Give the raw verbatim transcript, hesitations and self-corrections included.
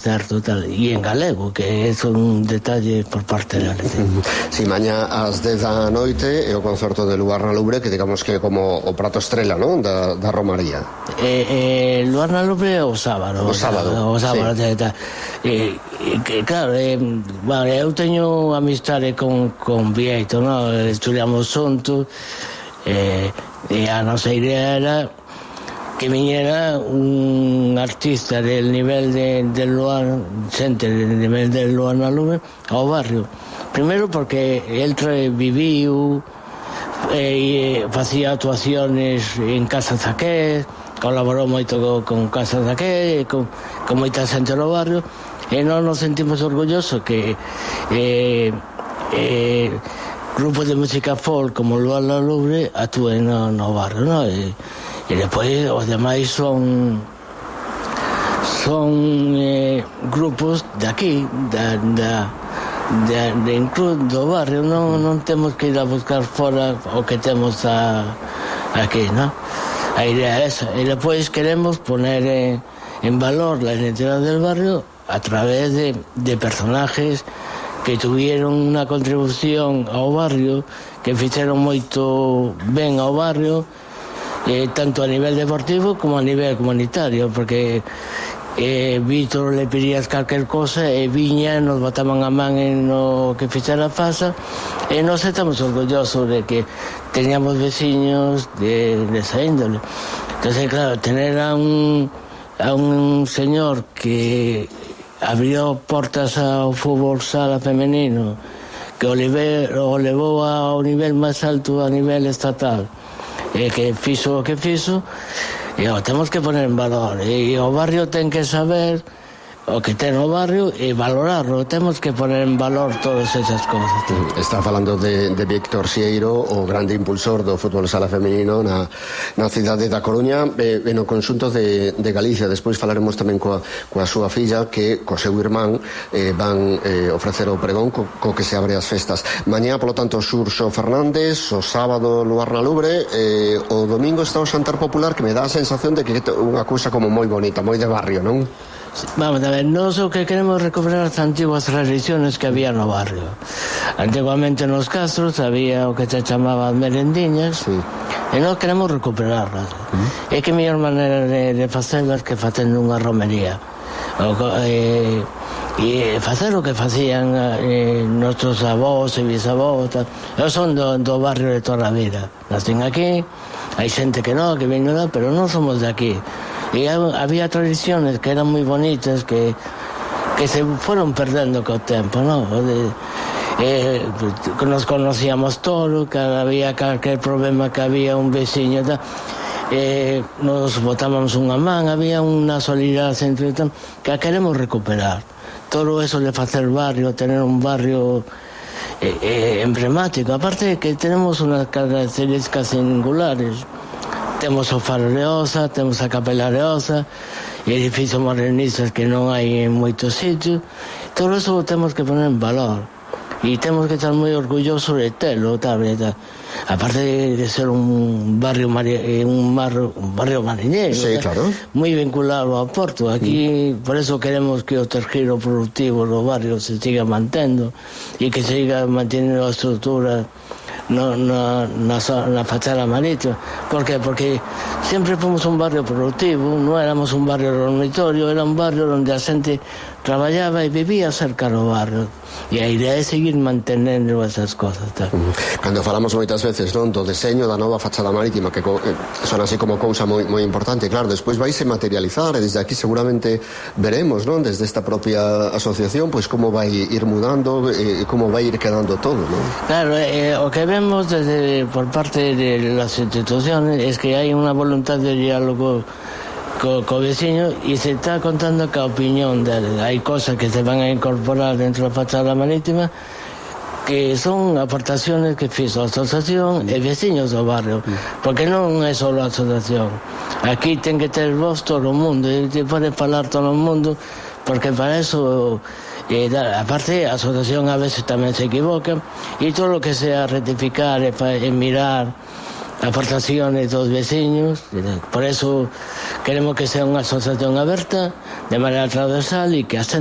certo, tal, e en galego, que é un detalle por parte da Lete. Si, mañá ás dez da noite é o concerto de Luar na Lubre, que digamos que é como o prato estrela, non? Da, da Romaría. Eh, eh, Luar na Lubre é o sábado. O sábado, o sábado, sí. tal. E, e, que, claro, eh, bueno, eu teño amistade con, con Vieito, no? Estudiamos xuntos, eh, e a nosa idea era que viñera un artista del nivel de, de Luar, xente del nivel de Luar na Lubre ao barrio. Primeiro porque el viviu e facía actuaciones en Casa Zaqué, colaborou moito con, con Casa Zaqué, con, con moita xente no barrio, e non nos sentimos orgullosos que eh, eh, grupos de música folk como Luar na Lubre actúen no, no barrio, no? E, e depois os demais son son eh, grupos de aquí, da, da, de, de incluso do barrio, non, non temos que ir a buscar fora o que temos a, aquí, non? A idea é esa, e depois queremos poner en, en valor la identidad del barrio a través de, de personajes que tuvieron unha contribución ao barrio, que fixeron moito ben ao barrio, eh, tanto a nivel deportivo como a nivel comunitario, porque eh, Vítor le pedías calquer cosa e viña, nos botaban a man en no que fixera Fasa, e nos estamos orgullosos de que teníamos veciños de, de esa índole. Entonces, claro, tener a un a un señor que abrió portas ao fútbol sala femenino, que o, leve, o levou ao nivel máis alto a nivel estatal, e que fixo o que fixo, e o temos que poner en valor, e o barrio ten que saber o que ten o barrio e valorarlo, temos que poner en valor todas esas cosas. Está falando de, de Víctor Sieiro, o grande impulsor do fútbol sala femenino na, na cidade da Coruña e, e no conxunto de, de Galicia. Despois falaremos tamén coa, coa súa filla, que co seu irmán eh, van eh, ofrecer o pregón co, co que se abre as festas. Mañá, polo tanto, Xurxo Fernández, o sábado Luar na Lubre, eh, o domingo está o xantar popular, que me dá a sensación de que é unha cousa como moi bonita, moi de barrio, non? Vamos a ver, nós o que queremos recuperar as antiguas tradiciones que había no barrio. Antiguamente nos castros había o que se chamaban merendiñas, sí, e nós queremos recuperarlas. Mm. É que a mellor maneira de, de facelas que facendo unha romería. O, eh, e facer o que facían eh, nosos avós e bisavós. Eu son do, do barrio de toda a vida. Nacen aquí, hai xente que non, que ven nada, pero non somos de aquí. E había tradiciones que eran moi bonitas, que, que se foron perdendo co tempo, non? Eh, nos conocíamos todo, cada había calquer problema que había un veciño, tal, eh, nos botábamos unha man, había unha solidaridade entre tal, que a queremos recuperar. Todo eso de facer barrio, tener un barrio eh, eh, emblemático, aparte que tenemos unas características singulares. Temos o Faro de Osa, temos a Capela de Osa, edificios modernistas que non hai en moitos sitios. Todo eso temos que poner en valor. E temos que estar moi orgullosos de telo, tal, tal. Aparte de ser un barrio mari, un, barrio, un barrio mariñeiro, sí, claro, moi vinculado ao porto. Aquí, mm. por eso queremos que o tergiro productivo do barrio se siga mantendo e que se siga mantendo a estrutura No, no, na, na fachada marítima. Por qué? Porque sempre fomos un barrio productivo, non éramos un barrio dormitorio, era un barrio onde a xente traballaba e vivía cerca do barrio, e a idea é seguir mantenendo esas cosas, tal. Cando falamos moitas veces, non, do deseño da nova fachada marítima, que eh, son así como cousa moi, moi importante, claro, despois vaise materializar, e desde aquí seguramente veremos, non, desde esta propia asociación, pois como vai ir mudando e eh, como vai ir quedando todo, non? Claro, eh, o que vemos desde por parte de las instituciones es que hai unha voluntad de diálogo co, co veciño, e se está contando que a opinión dele. Hai cosas que se van a incorporar dentro da fachada marítima que son aportaciones que fixo a asociación e veciños do barrio, porque non é só a asociación. Aquí ten que ter voz todo o mundo, e te pode falar todo o mundo, porque para eso eh, aparte a asociación a veces tamén se equivoca, e todo o que sea rectificar e, e mirar aportaciones dos vecinos, por eso queremos que sea unha asociación aberta de manera transversal e que a